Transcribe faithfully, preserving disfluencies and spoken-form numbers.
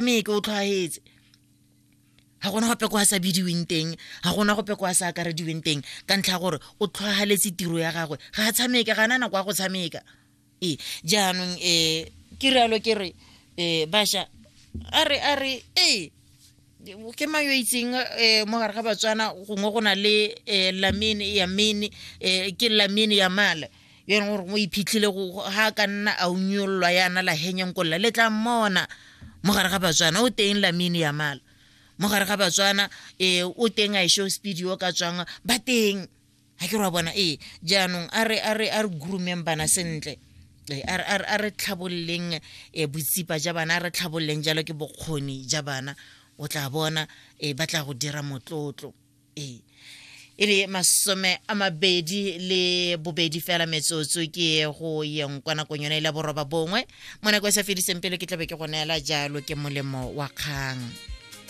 Tshameke, o tlhwaetse, ga gona gope kwa a sa bidiweng teng, ga gona gope kwa a sa akarediweng teng, ka ntlha ya gore o tlhwagaletse tiro ya gagwe. Ga a tshameke, ga ana nako ya go tshameka. Ee, jaanong um ke rialo, ke re um bašwa, a re a re ee, ke mang yo itseng um mo gare ga Batswana gongwe go na le um Lamine Yamene, um ke Lamine Yamal yo e leng gore o iphitlhile ga a ka nna a unyololwa yana la henyenkolla le tla mmona mo gare ga Batswana. O teng Lamine Yamal mo gare ga Batswana, um o teng a show speed yo ka tswang ba teng, ga ke re wa bona. Ee, jaanong a re a re a re groomeng bana sentle, a re tlhabololeng botsipa ja bana, a re tlhabololeng jalo ke bokgoni ja bana. O tla bona um ba tla go dira motlotlo. Ee, e le masome a mabedi le bobedi fela metsotso ke go yeng kwa nakong yone e la boroba bongwe. Mo nako e sa fediseng pele ke tlabe ke go neela jalo ke molemo wa kgang.